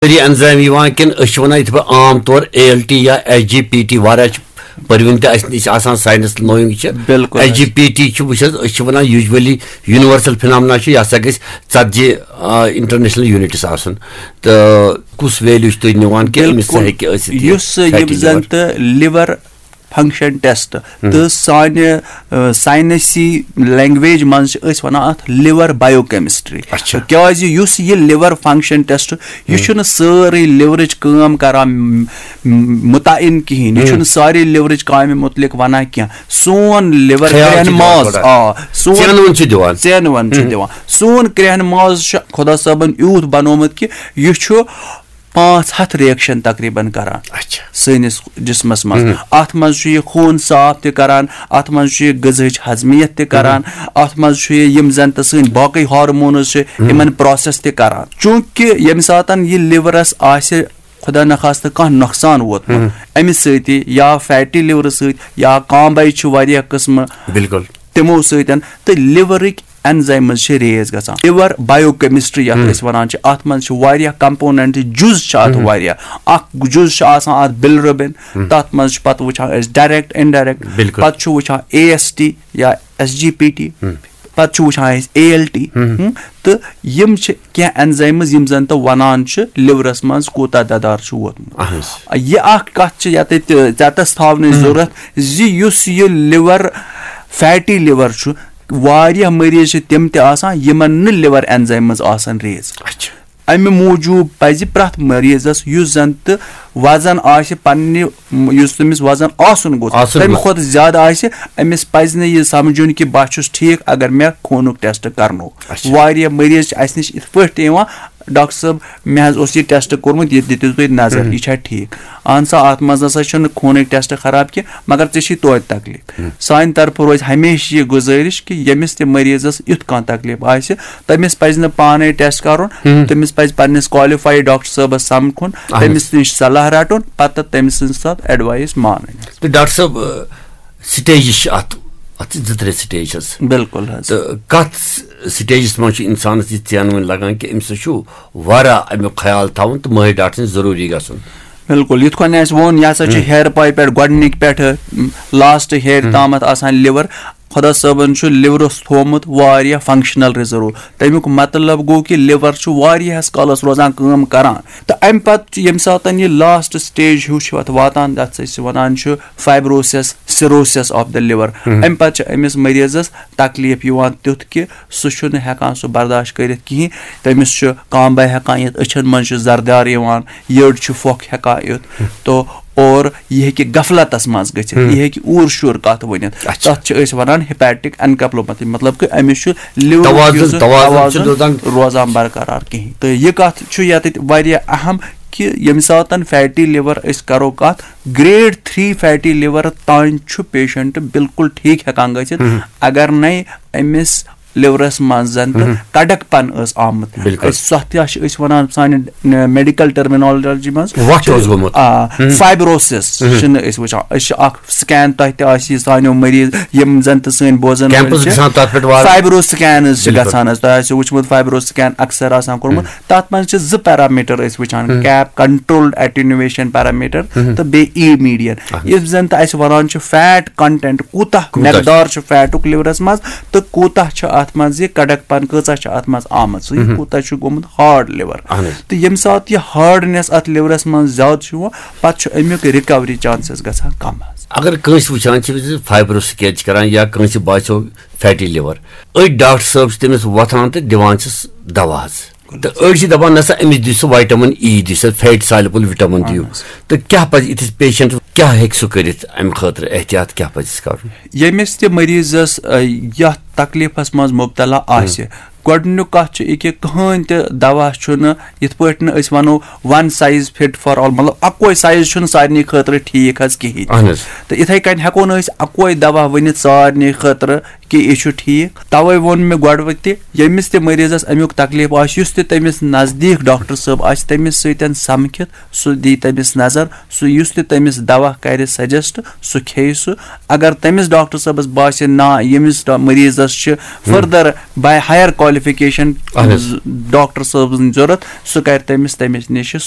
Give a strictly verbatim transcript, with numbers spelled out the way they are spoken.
سٲری انزائم یِوان کِنہٕ أسۍ چھِ وَنان یِتھ پٲٹھۍ عام طور اے ایل ٹی یا ایس جی پی ٹی؟ واریاہ چھِ پٔرۍوٕنۍ تہِ اَسہِ نِش آسان، ساینس نویِنگ چھِ۔ بِلکُل حظ۔ ایس جی پی ٹی چھِ، وٕچھ حظ، أسۍ چھِ وَنان یوٗجؤلی یوٗنیورسل فِنامنا چھُ، یہِ ہسا گژھِ ژتجی انٹرنیشنل یوٗنٹس آسُن۔ تہٕ کُس ویلیو چھِ تُہۍ نِوان کہِ أمِس بِلکُل۔ ہیٚکہِ ٲسِتھ یہِ یُس یِم فیٹی زن لِور؟ تہٕ لِور فنکشن ٹیسٹ تہٕ سانہِ، آ، ساینسی لینگویج منٛز چھِ أسۍ وَنان اَتھ لِور بایو کیمسٹری۔ اچھا۔ کیازِ یُس یہِ لِور فنکشن ٹیسٹ، یہِ چھُنہٕ سٲرٕے لِورٕچ کٲم کران، م، م، مُتعین کِہیٖنۍ۔ یہِ چھُنہٕ سارے لِورٕچ کامہِ مُتعلِق وَنان کینٛہہ۔ سون لِور خیال چھُ کرٛٮ۪ہن دِوان ماز، تھوڑا۔ آ، سون ژینوُن چھُ دِوان۔ ژینوُن چھُ دِوان۔ سون کرٛٮ۪ہن ماز چھُ خۄدا صٲبن یوٗت بنومُت کہِ یہِ چھُ پانٛژھ ہتھ ریکشن تقریباً کران۔ اچھا۔ سٲنِس جسمس منٛز۔ اتھ منٛز چھُ یہِ خوٗن صاف تہِ کران، اتھ منٛز چھُ یہِ غذہٕچ ہضمیت تہِ کران، اتھ منٛز چھُ یہِ یِم زن تہٕ سٲنۍ باقٕے ہارمونز چھِ، یِمن پروسیس تہِ کران۔ چوٗنٛکہِ ییٚمہِ ساتن یہِ لِورس آسہِ خۄدا نخواستہٕ کانٛہہ نۄقصان ووتمُت امہِ سۭتۍ، یا فیٹی لِورٕ سۭتۍ، یا کانٛبے چھِ واریاہ قٕسمہٕ، بِلکُل۔ تِمو سۭتۍ تہٕ لِورٕکۍ اینزایمز چھِ ریز گژھان۔ لِور بایو کیمسٹری یَتھ أسۍ وَنان چھِ، اَتھ منٛز چھِ واریاہ کمپوننٹ، جُز چھِ اَتھ واریاہ۔ اکھ جُز چھُ آسان اَتھ بِلرُبِن، تَتھ منٛز چھِ پَتہٕ وٕچھان أسۍ ڈائریکٹ، انڈائریکٹ۔ بِلکُل۔ پَتہٕ چھُ وٕچھان اے ایس ٹی یا ایس جی پی ٹی، پَتہٕ چھُ وٕچھان أسۍ اے ایل ٹی۔ تہٕ یِم چھِ کینٛہہ اینزایمز یِم زَن تہٕ وَنان چھِ لِورَس منٛز کوٗتاہ دَدار چھُ ووتمُت۔ اہن حظ۔ یہِ اَکھ کَتھ چھِ یَتٮ۪تھ ژےٚ تَس تھاونٕچ ضوٚرَتھ زِ یُس یہِ لِور، فیٹی لِور چھُ، واریاہ مٔریٖض چھِ تِم تہِ آسان یِمَن نہٕ لِور اینزایمز آسان ریز۔ اچھا۔ اَمہِ موٗجوٗب پَزِ پرٛٮ۪تھ مٔریٖضَس یُس زَن تہٕ وَزَن آسہِ پنٛنہِ، یُس تٔمِس وَزَن آسُن گوٚژھ، آسُن تَمہِ گوٚژھ۔ کھۄتہٕ زیادٕ آسہِ، أمِس پَزِ نہٕ یہِ سَمجھُن کہِ بہٕ چھُس ٹھیٖک اگر مےٚ خوٗنُک ٹیسٹ کَرنو۔ اچھا۔ واریاہ مٔریٖض چھِ اَسہِ نِش یِتھ پٲٹھۍ تہِ یِوان، "ڈاکٹر صٲب، مےٚ حظ اوس یہِ ٹیسٹ کوٚرمُت، یہِ دِتِو تُہۍ نظر، یہِ چھا ٹھیٖک؟" اہن سا، اَتھ منٛز نہ سا چھُنہٕ خوٗنٕکۍ ٹیسٹ خراب کینٛہہ، مگر ژےٚ چھی توتہِ تکلیٖف۔ سانہِ طرفہٕ روزِ ہمیشہِ یہِ گُزٲرِش کہِ ییٚمِس تہِ مٔریٖضَس یُتھ کانٛہہ تکلیٖف آسہِ، تٔمِس پَزِ نہٕ پانَے ٹیسٹ کَرُن، تٔمِس پَزِ پنٛنِس کالِفایڈ ڈاکٹر صٲبَس سَمکھُن، اہن حظ۔ تٔمِس نِش صلاح رَٹُن، پَتہٕ تٔمۍ سٕنٛز سۄ ایڈوایس مانٕنۍ۔ تہٕ ڈاکٹر صٲب، سٹیجز چھِ اَتھ، اَتھ چھِ زٕ ترٛےٚ سٹیج حظ۔ بِلکُل حظ۔ تہٕ کَتھ سٹیجَس منٛز چھُ اِنسانَس یہِ ژینوٕنۍ لَگان کہِ أمِس چھُ واریاہ اَمیُک خیال تھاوُن تہٕ مٲہِر ڈاکٹر سٕنٛز ضروٗری گژھُن؟ بِلکُل، یِتھ کٔنۍ اَسہِ ووٚن، یہِ ہسا چھُ ہیرٕ پایہِ پٮ۪ٹھ گۄڈٕنِکۍ پٮ۪ٹھٕ لاسٹ ہیرِ تامَتھ آسان لِور۔ خۄدا صٲبَن چھُ لِورَس تھوٚومُت واریاہ فنکشنل ریزرو۔ تَمیُک مطلب گوٚو کہِ لِور چھُ واریاہَس کالَس روزان کٲم کران۔ تہٕ اَمہِ پَتہٕ چھُ، ییٚمہِ ساتَن یہِ لاسٹ سٹیج ہیوٗ چھُ اَتھ واتان، یَتھ أسۍ وَنان چھُ فائبروسس، سیروسس آف دا لِور۔ اَمہِ پَتہٕ چھُ أمِس مٔریٖضَس تکلیٖف یِوان تیُتھ کہِ سُہ چھُنہٕ ہٮ۪کان سُہ برداشت کٔرِتھ کِہیٖنۍ۔ تٔمِس چھُ کانٛبَے ہٮ۪کان یِتھ، أچھَن منٛز چھُ زردار یِوان، یٔڈ چھُ پھۄکھ ہٮ۪کان یِتھ۔ تو اور یہِ ہیٚکہِ غفلتَس منٛز گٔژھِتھ، یہِ ہیٚکہِ اوٗر شوٗر کَتھ ؤنِتھ۔ اچھا۔ تَتھ چھِ أسۍ وَنان ہیپیٹک انکیفلوپیتھی، مطلب کہِ أمِس چھُ لِورُک توازُن، یُس زَن توازُن چھُ توازُن روزان۔ روزان برقرار کِہیٖنۍ۔ تہٕ یہِ کَتھ چھُ یَتٮ۪تھ واریاہ اہم کہِ ییٚمہِ ساتَن فیٹی لِور أسۍ کَرو کَتھ، گریڈ تھری فیٹی لِور تام چھُ پیشنٹ بالکل ٹھیٖک ہٮ۪کان گٔژھِتھ، اگر نَے أمِس لِورَس منٛز زَن تہٕ کَڈَک پَن ٲس آمٕژ۔ بِلکُل۔ أسۍ، سۄ تہِ چھِ أسۍ وَنان سانہِ میڈیکل ٹرمینالجی منٛز وَٹھ اوس گوٚمُت۔ آ، فائبروسس چھِنہٕ أسۍ وٕچھان۔ أسۍ چھِ اَکھ سکین، تۄہہِ تہِ آسہِ یہِ سانیو مٔریٖض یِم زَن تہٕ سٲنۍ بوزَن وٲلۍ کیمپس چھِ۔ گژھان تَتھ پٮ۪ٹھ وارٕ۔ فائبرو سکینز چھِ بِلکُل۔ گژھان حظ، تۄہہِ آسیو وٕچھمُت فائبرو سکین اکثر آسان کوٚرمُت۔ تَتھ منٛز چھِ زٕ پیرامیٹر أسۍ وٕچھان، کیپ، کنٹرولڈ اٹینویشن پیرامیٹر تہٕ بیٚیہِ ای میڈین۔ یُس زَن تہٕ اَسہِ وَنان چھُ فیٹ کنٹینٹ، کوٗتاہ کوٗتاہ چھُ؟ مقدار چھُ فیٹُک لِورَس منٛز تہٕ کوٗتاہ چھُ اَتھ منٛز یہِ کَڈَک پَن، کۭژاہ چھِ اَتھ منٛز آمٕژ، سُہ یہِ کوٗتاہ چھُ گوٚمُت ہارڈ لِور۔ اہن حظ۔ تہٕ ییٚمہِ ساتہٕ یہِ ہارڈنیس اَتھ لِورَس منٛز زیادٕ چھُ یِوان، پَتہٕ چھُ اَمیُک رِکوری چانسز گژھان کَم حظ۔ اگر کٲنٛسہِ وٕچھان چھِ زِ فائبرو سکین چھِ کران یا کٲنٛسہِ باسیو فیٹی لِور، أتھۍ ڈاکٹر صٲب چھِ تٔمِس وۄتھان تہٕ دِوان چھِس دوا حظ۔ تہٕ أڑۍ چھِ دَپان، "نسا، أمِس دِیِو سا وائٹامن ای، دِیِو سا فیٹ سالبل وِٹامن دِیِو۔" تہٕ کیٛاہ پَزِ یِتھِس پیشنٹس، کیٛاہ ہیٚکہِ سُہ کٔرِتھ اَمہِ خٲطرٕ؟ احتیاط کیٛاہ پَزٮ۪س کَرُن؟ ییٚمِس تہِ مٔریٖضَس، آ، یَتھ تکلیٖفَس منٛز مُبتلا آسہِ، گۄڈٕنیُک کَتھ چھُ یہِ کہِ کٕہٕنۍ تہِ دوا چھُنہٕ یِتھ پٲٹھۍ نہٕ أسۍ وَنو one size fit for all، مطلب اَکوے سایز چھُنہٕ سارنٕے خٲطرٕ ٹھیٖک حظ کِہیٖنۍ۔ اہن حظ۔ تہٕ یِتھَے کٔنۍ ہٮ۪کو نہٕ أسۍ اَکوے دوا ؤنِتھ سارنٕے خٲطرٕ کہِ یہِ چھُ ٹھیٖک۔ تَوَے ووٚن مےٚ گۄڈٕ تہِ، ییٚمِس تہِ مٔریٖضَس اَمیُک تکلیٖف آسہِ، یُس تہِ تٔمِس نزدیٖک ڈاکٹر صٲب آسہِ، تٔمِس سۭتۍ سَمکھِتھ، سُہ دی تٔمِس نظر، سُہ یُس تہِ تٔمِس دوا کَرِ سجسٹ، سُہ کھیٚیہِ سُہ۔ اگر تٔمِس ڈاکٹر صٲبَس باسہِ، نہ، ییٚمِس ڈا-، مٔریٖضَس چھِ further by higher qualification اہن حظ۔ ڈاکٹر صٲبٕنۍ ضوٚرَتھ، سُہ کَرِ تٔمِس، تٔمِس نِش سُہ۔